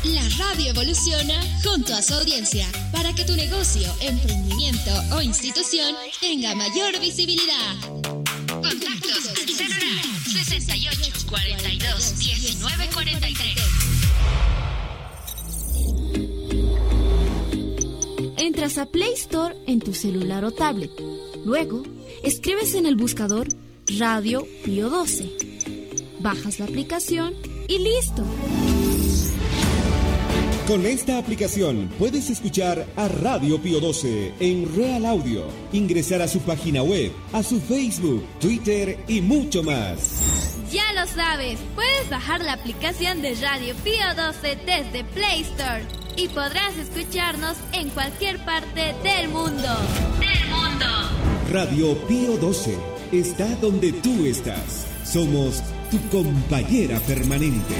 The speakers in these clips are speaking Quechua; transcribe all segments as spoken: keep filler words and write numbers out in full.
La radio evoluciona junto a su audiencia para que tu negocio, emprendimiento o institución tenga mayor visibilidad. Contactos al celular sesenta y ocho, cuarenta y dos, diecinueve, cuarenta y tres. Entras a Play Store en tu celular o tablet. Luego, escribes en el buscador Radio Pío doce. Bajas la aplicación y ¡listo! Con esta aplicación puedes escuchar a Radio Pío doce en Real Audio, ingresar a su página web, a su Facebook, Twitter y mucho más. Ya lo sabes, puedes bajar la aplicación de Radio Pío doce desde Play Store y podrás escucharnos en cualquier parte del mundo. ¡Del mundo! Radio Pío doce está donde tú estás. Somos tu compañera permanente.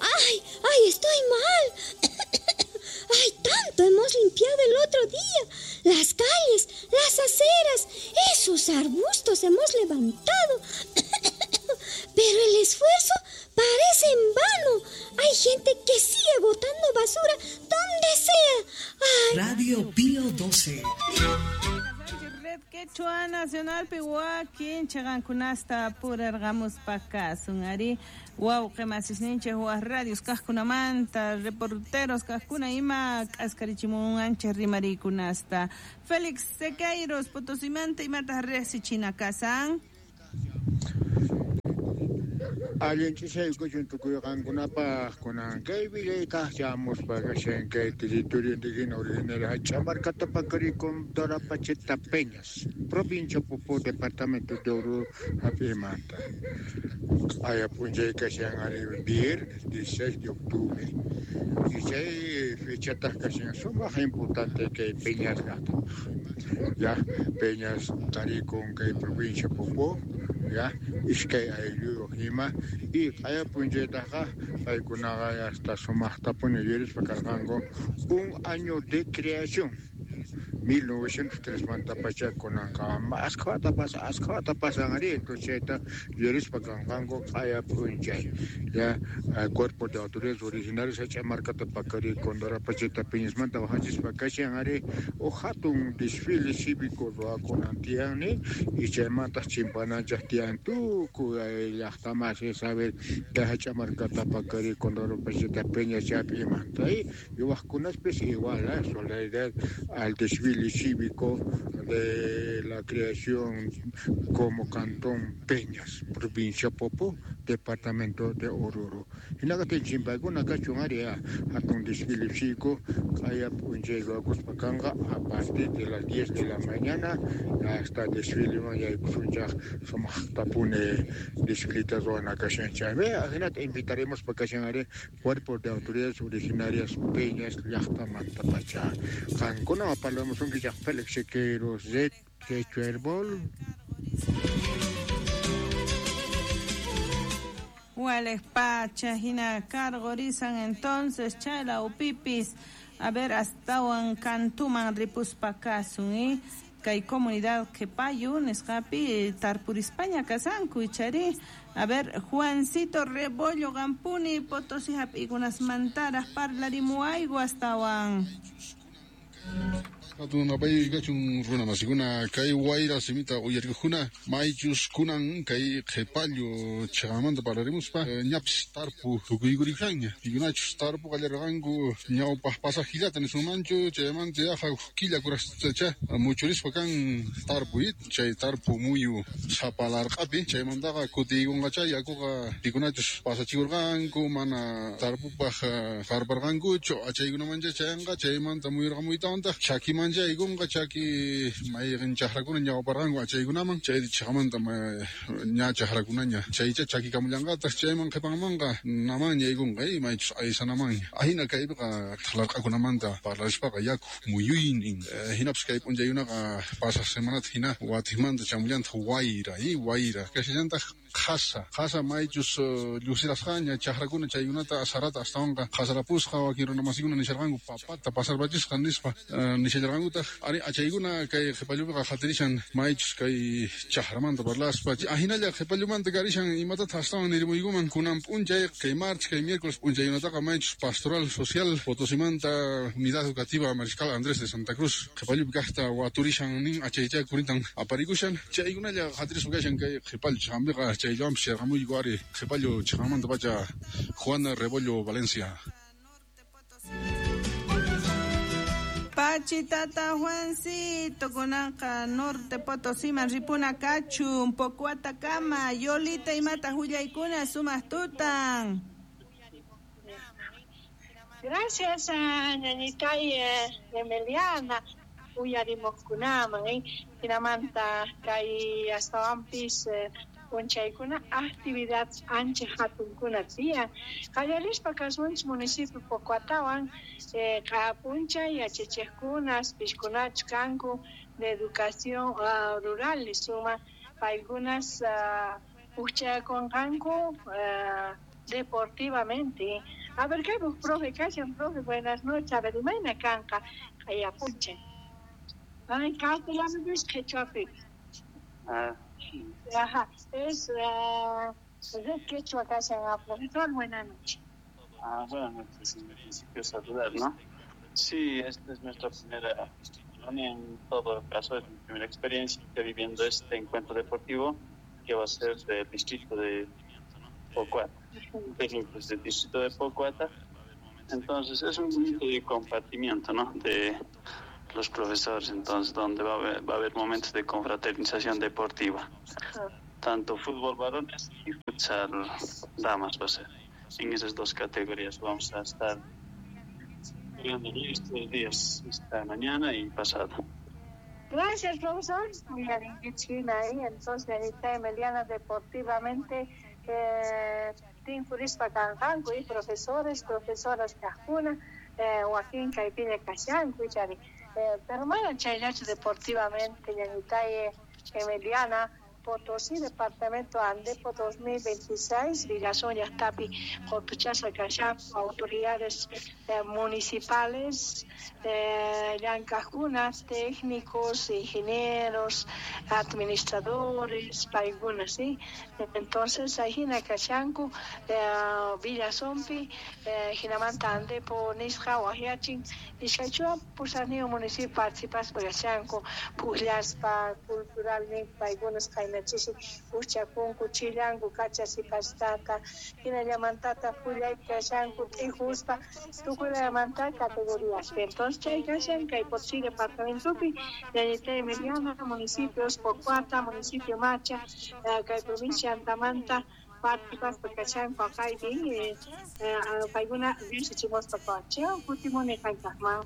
¡Ay! ¡Ay, estoy mal! ¡Ay, tanto hemos limpiado el otro día! Las calles, las aceras, esos arbustos hemos levantado. Pero el esfuerzo parece en vano. Hay gente que sigue botando basura donde sea. ¡Ay! Radio Pío doce. Red Quechua Nacional Pihuaquin, Chagankunasta, Purargamos Pacasun, Ari, Wauqemasisninchik, waj radios kajkunamanta, reporteros kajkuna ima, k'askarichimun ancha rimarikunasta. Félix Sequeiros, Potosimanta, imata resichina kasan. Allin ch'isaykuchun tukuy qankunapaq kunan kay villaytaq chamuspa kashan kay territorio indígena originario Hach'amarkata Paqarikun Dorapacheta Peñas, provincia Popó, departamento de Oruro, hap'imanta. Aya p'unchay kashan ari viernes dieciséis de octubre. Y chay fechataq kashan sumaq importante kay Peñas llaqtapaq. Ya Peñas tarikun kay provincia Popó, ya iskay aylluyuq ima y qaya p'unchaytaqa paykunaqa hasta sumaqtapuni yurispa karqanku un año de creación mil novecientos tres manta pacha kunanqa askhata pasa askhata pasan ari entonces chayta yurispa kanqanku qaya p'unchay ya cuerpo de autoridades originarias Hach'amarkata Paqari Condorapacheta Peñasmanta waqachispa kashan ari uj hatun desfile cívico ruwakunan tiyani y chaymantaq chimpananchaq tiyan tukuy llaqtamasi saber kay Hach'amarkata Paqari Condorapacheta Peñas chaypimanta y waqkunaspis igual eh, solidaridad al desfile cívico de la creación como Cantón Peñas, provincia Popó, departamento de Oruro. Hinaqtin chimpaykuna kachun ari hatun desfile cívico qaya p'unchay ruwakuspa kanqa a partir de las diez de la mañana hasta desfileman yaykusunchaq sumaqtapuni desfileta ruwana kashan chaymi ajinata invitaremos pa kashan ari cuerpo de autoridades originarias Peñas llaqtamanta pacha. Qankuna parlamusunkichaq Félix Sequeiros Red Quechua Herbol. Wales pacha, hina cargorizan entonces, chala upipis, a ver, hasta kantuman ripuspakasun, ¿eh? Kay comunidad Qhipayu, nisqapi, tarpurispaña kasanku, ichari. A ver, Juancito Rebollo Gampuni, Potosí hap'ikunas mantaras, parlarimuayku astawan. Hatunapay kachun runa masikuna kay wayra simita uyarikuna maychus kunan kay qhipallu chaqamanta parlarimuspa ñapis tarpu tukuykuriksanña pikunachus tarpu qallarqanku ñawpaq pasajillata nisunmanchu chaymanta yaqa killa kurastacha muchurispa kan tarpu chay tarpu muyu sapalarqapi chaymantaqa kutiykunqacha yakuqa pikunachus pasachikurqanku mana tarpupaq qarparqankuchu achaykunamancha chayanqa chaymanta muyurqamuytawantaq chaki manchaykunqa chaki mayqin chaqrakuna ñawparqanku achaykunaman chay chaqamanta ña chaqrakunaña chaycha chakikamullanqataq chayman qhipanmanqa namanña yaykunqa maychus aysanamanña ahina kaypiqa thlarqakunamanta parlarispaqa yaku muyuynin hinapis kay p'unchaykunaqa pasaq semanata hina watiqmanta chamullantaq wayra wayra kashallantaq qhasa qhasa maychus llusirasqaña chaqrakuna chaykunata sarata astawanqa qhasarapusqa wakin runa masikuna nisharqanku papata pasarpachisqa nispa nishallarqankutaq ari achaykuna kay qhipallupiqa qhatirishan maychus kay chaqramanta parlaspa ahinalla qhipallumanta karishan imatataq astawan nirimuykuman kunan p'unchay kay martes kay miércoles p'unchaykunataqa maychus pastoral social Potosimanta unidad educativa Mariscal Andrés de Santa Cruz qhipallupi kaqta waturishan nin achaycha kurintan aparikushan chaykunalla qhatirispa kashan kay qhipallu chaqampiqa chayllawanpis yarqamuyku ari qhipallu chaqamanta pacha Juana Rebollo Valencia. Pachitata Juancito kunanqa Norte Potosiman ripuna kachun Pocuatakama Yolita imata hullaykuna sumaq tutan. Gracias a ñañitay Emiliana uyarimuqkunaman eh hinamanta kay astawanpis p'unchaykuna actividad ancha hatunkuna tiyan qallarispa kasunchik municipio Pocuatawan eh, p'unchay yachachiqkunas pishkunachu kanku de educación uh, rural nisuma paykunas uh, pukchakunqanku uh, deportivamente. A ver, ¿qué profe? ¿Qué profe? Buenas noches. A ver, imayna kanqa qayapunchay. Ay, castellano es quechua. Ah. Ajá, es uh, de quechua kashan. Profesor, buenas noches. Ah, buenas noches. En principio saludar, ¿no? Sí, esta es nuestra primera, en todo caso, es mi primera experiencia viviendo este encuentro deportivo que va a ser del distrito de Pocoata, técnicos del distrito de Pocoata. Entonces es un momento de compartimiento, ¿no? De los profesores, entonces, donde va a haber, va a haber momentos de confraternización deportiva. Tanto fútbol varones y futsal damas va a ser. En esas dos categorías vamos a estar jugando estos días, esta mañana y pasado. Gracias, profesor. Entonces, Anita Emiliana, deportivamente, eh, tinkurispa kanqanku y profesores, profesoras kaqkuna, eh, wakin kaypiña kashanku, chari. Eh, pero mana chayllachu deportivamente, ñañitay Emiliana, Potosí, departamento Andepo dos mil veintiséis, Villazón llaqtapi, Qotuchasqa kashanku, autoridades eh, municipales, eh, llank'aqkuna, técnicos, ingenieros, administradores, paykuna, ¿sí? Entonces, ahina kashanku, eh, Villazonpi, eh, hinamanta Andepo nisqa waqyachin, iskaychunka pusaqniyuq municipio participaspa kashanku, puqllaspa, culturalmente, paykunas chisi uchakunku chillanku kachasipastata hinallamantata pullay kashanku t'ijuspa tukuylamanta categorías. Entonces chay kashan kay Potosí departamentopi ñañitay Emiliana, municipios Pocuata, municipio Macha, kay provincia Antamanta participaspa kashanku aqaypi paykuna riqsichimuspa pacha kutimuni qaykaqman.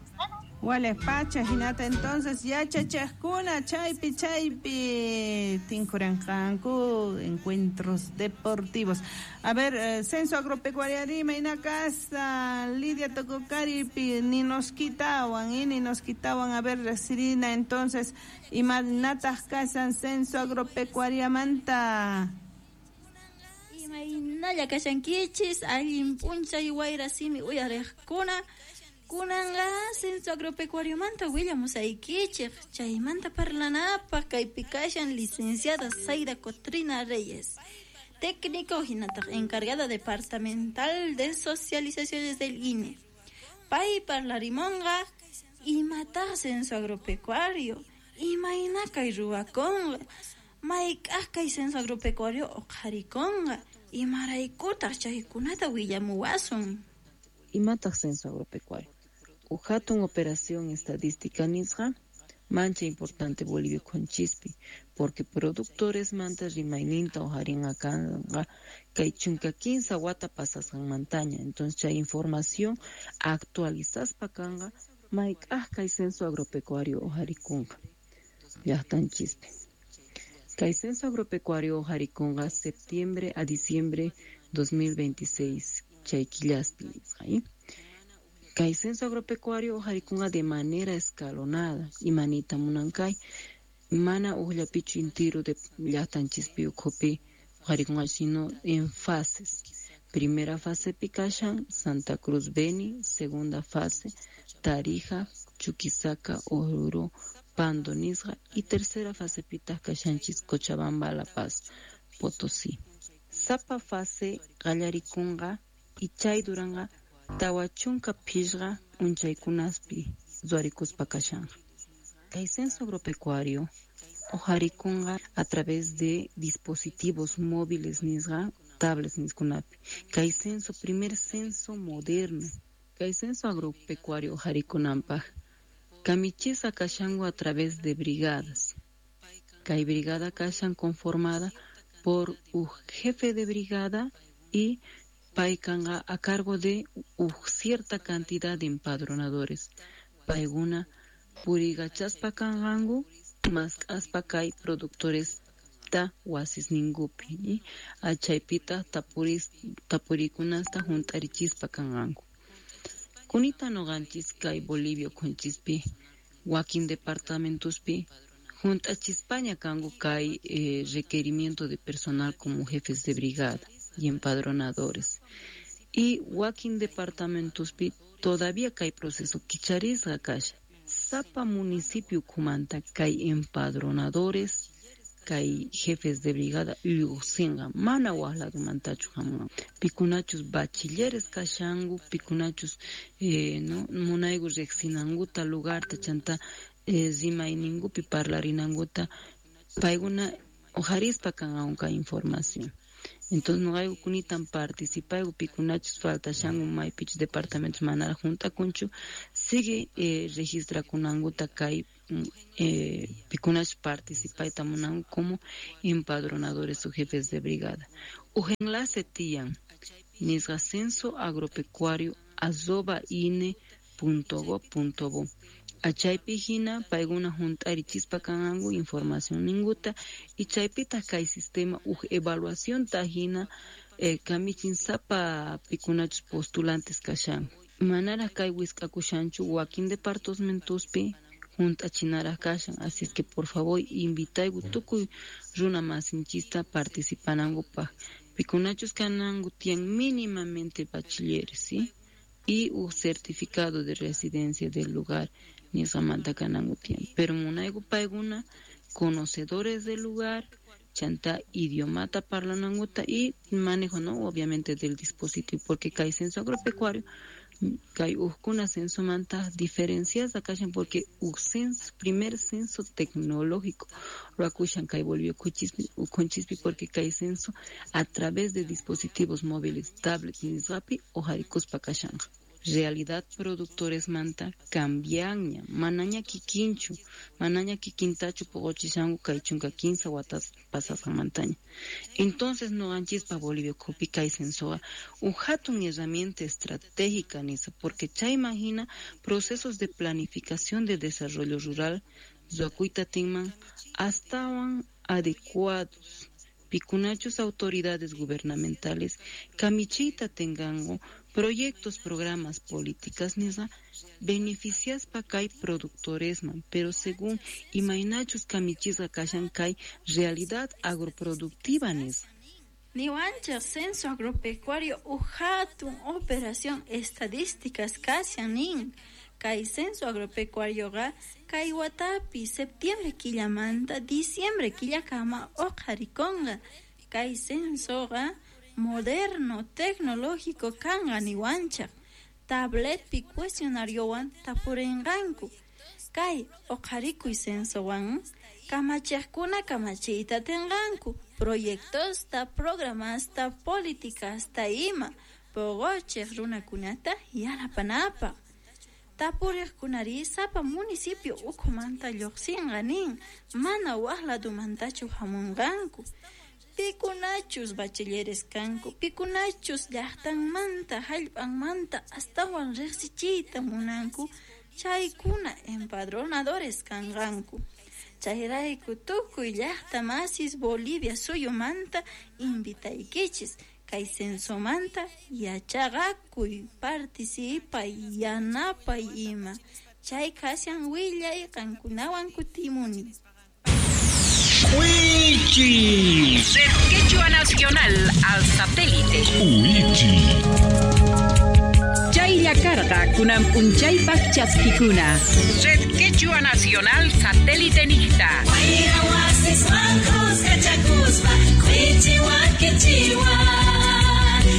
Wales pacha hinata entonces yachachaqkuna chaypi chaypi tinkuranqanku encuentros deportivos. A ver, eh, censo agropecuario imayna kasqa Lidia Tococaripi ni nos quitawan y ni nos quitawan. A ver, Sirina, entonces imaynataq kasan censo agropecuariamanta. Imaynalla kashankichis allin p'unchay wayra simi uyariqkuna. Kunanqa censo agropecuariomanta willamusaykichik chaymanta parlanapaq kaypi kashan licenciada Zaida Cotrina Reyes, técnico hinataq encargada departamental de socializaciones del I N E. Pay parlarimonqa imataq censo agropecuario, imayna kay ruwakunqa, mayk'aq kay censo agropecuario uqharikunqa, imaraykutaq chaykunata willamuwasun. Imataq censo agropecuario. Uj hatun operación estadística nisqa mancha importante Bolivia ukhunchikpi porque productores manta rimayninta uqharinqa kanqa kay chunka kinsa wata pasasqanmantaña. Entonces chay información actualizaspa kanqa mayk'aq kay censo agropecuario uqharikunqa llaqtanchispi. Kay censo agropecuario uqharikunqa septiembre a diciembre dos mil veintiséis chay killaspi nisqa. Kay censo agropecuario uqharikunqa de manera escalonada imanita munankay mana uqllapichu intiru de llaqtanchispi ukhupi Uqharikunqa sino en fases. Primera fase Picashan, Santa Cruz Beni, segunda fase Tarija, Chuquisaca, Oruro, Pando nisqa y tercera fase pitaq kashanchis Cochabamba, La Paz, Potosí. Sapa fase qallarikunqa y chay duranqa tawa chunka phishqa p'unchaykunaspi ruwarikuspa kashanqa. Kay censo agropecuario uqharikunqa a través de dispositivos móviles nisqa, tablets niskunapi. Kay censo, primer censo moderno. Kay censo agropecuario uqharikunanpaq kamichisqa kashanku a través de brigadas. Kay brigada kashan conformada por un jefe de brigada y paykanqa a cargo de cierta cantidad de empadronadores. Paykuna purigachaspa kanqanku mask'aspa kay productores ta wasisninkupi achaypita tapuris tapurikunasta hunt'arichispa kanqanku. Kunita nuqanchis kay Bolivia ukhunchispi wakin departamentospi hunt'achispaña kanku kay eh, requerimiento de personal como jefes de brigada y empadronadores. Y wakin departamentospi todavía kay proceso kicharisqa kashan. Sapa municipio ukhumanta kay empadronadores kay jefes de brigada lluqsinqa mana waq ladomantachu hamunqa. Pikunachus bachilleres kashanku, pikunachus eh, no munayku riqsinankuta lugarta chanta eh, rimayninkupi parlarinankuta paykuna uqharispa kanqanku kay información. Entonces nuqayku kunitan participayku pikunachus faltashanku maypichus departamentos manaraq hunt'akunchu sigue eh, registrakunankuta kay eh, pikunachus participayta munanku como empadronadores o jefes de brigada. Uj enlace tiyan nisqa censo agropecuario arroba ine punto gob punto bo. Achaypi hina paykuna hunt'arichispa kanqanku información ninkuta y chaypitaq kay sistema uj evaluación ta hina eh, kamichin sapa pikunachus postulantes kashanku. Manaraq kay wisk'akushanchu wakin departamentospi hunt'achinaraq kashan, así es que por favor invitayku tukuy runa masinchista participanankupaq. Pikunachus kananku tiyan mínimamente bachilleres, ¿sí? Y un certificado de residencia del lugar nisqamanta kananku tiyan. Pero munayku paykuna conocedores del lugar, chanta idiomata parlanankuta y manejo, no, obviamente del dispositivo, porque kay censo agropecuario kay uqkuna censomanta diferencias kashan porque uj censo, primer censo tecnológico ruwakushan kay Bolivia ukhunchispi porque kay censo a través de dispositivos móviles, tablets nisqapi uqharikuspa kashanqa. Realidad productores manta cambianña, manaña kikinchu, manaña kikintachu puquchishanku kay chunka kinsa watas pasasqanmantaña. Entonces nuqanchispa Bolivia ukhupi kay censoqa uj hatun herramienta estratégica nisa, porque chayman hina procesos de planificación de desarrollo rural ruwakuyta tinman astawan adecuados. Pikunachus autoridades gubernamentales kamichiyta tenganku proyectos, programas, políticas nisqa beneficiaspa kay productoresman, pero según imaynachus kamichisqa kashan kay realidad agroproductiva nisqa. Niwanchaq censo agropecuario uj hatun operación estadísticas kashan nin. Kay censo agropecuarioqa kay watapi septiembre killamanta diciembre killakama uqharikunqa. Kay censoqa moderno tecnológico kanqa niwanchaq. Tabletpi cuestionariowan tapurinqanku. Kay uqharikuy censowan kamachiqkuna kamachiyta tinqanku proyectosta, programasta, políticasta ima puquchiq runakunata yanapanapaq. Tapuriqkunari sapa municipio ukhumanta lluqsinqa nin, mana waq ladumantachu hamunqanku. Pikunachus bachilleres kanku, pikunachus llaqtanmanta, hallp'anmanta astawan riqsichiyta munanku, chaykuna empadronadores kanqanku. Chayrayku tukuy llaqta masis Bolivia suyumanta invitaykichis kay censomanta yachaqakuy, participay, yanapay ima. Chay kashan willay qankunawan kutimuni. Wichi. Red Quechua. Nacional al satélite. Uichi. Chaylla karqa kunan p'unchaypaq chaskikuna. Red Quechua Nacional Satélite niqta.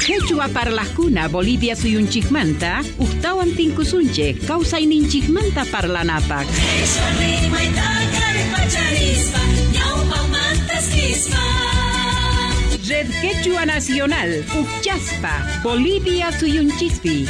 Quechua parlaqkuna Bolivia suyunchikmanta uqtawan tinkusunchik kawsayninchikmanta parlanapaq. Red Quechua Nacional, Uchaspa, Bolivia suyunchispi.